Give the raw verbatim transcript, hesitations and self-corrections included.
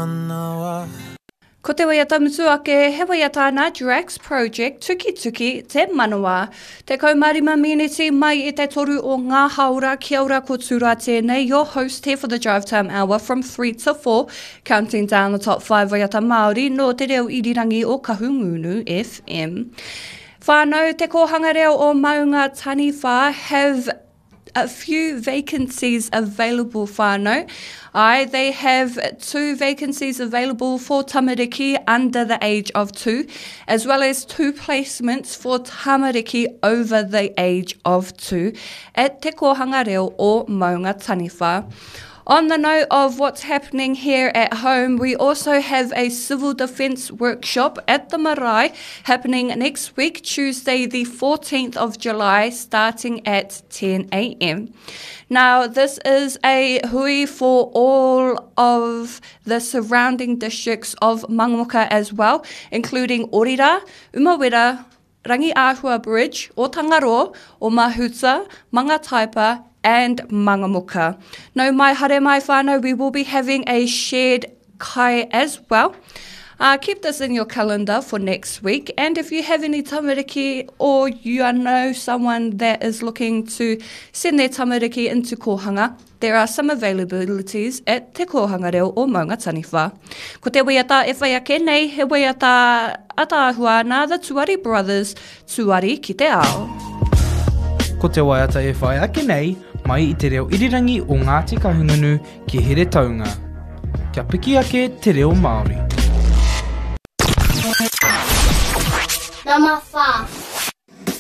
manawa. Ko te waiata mutu ake, he waiata nā Drax Project Tukituki Te Manawa. Tekau mā rima miniti mai i te toru o ngā haora, kia ora ko Tūra tēnei, your host here for the Drive Time Hour from three to four, counting down the top five waiata Māori nō te reo irirangi o Kahungunu F M. Whānau, Te Kōhanga Reo o Maunga Taniwha have a few vacancies available, whānau. Aye, they have two vacancies available for tamariki under the age of two, as well as two placements for tamariki over the age of two at Te Kōhanga Reo o Maunga Taniwha. On the note of what's happening here at home, we also have a civil defence workshop at the marae happening next week, Tuesday, the fourteenth of July, starting at ten a m. Now, this is a hui for all of the surrounding districts of Mangamuka as well, including Orira, Umawera, Rangiahua Bridge, Otangaroa, Omahuta, Mangataipa, and Mangamuka. Nau mai haere mai whānau, we will be having a shared kai as well. Uh, keep this in your calendar for next week. And if you have any tamariki or you know someone that is looking to send their tamariki into kōhanga, there are some availabilities at Te Kōhanga Reo o Maunga Taniwha. Ko te waiata e whai ake nei, he waiata ataahua nā The Tuari Brothers, Tuari ki te ao. Ko te waiata e whai ake nei, mai i te reo irirangi o Ngāti Kahungunu ki Heretaunga. Kia piki ake te reo Māori. Number five.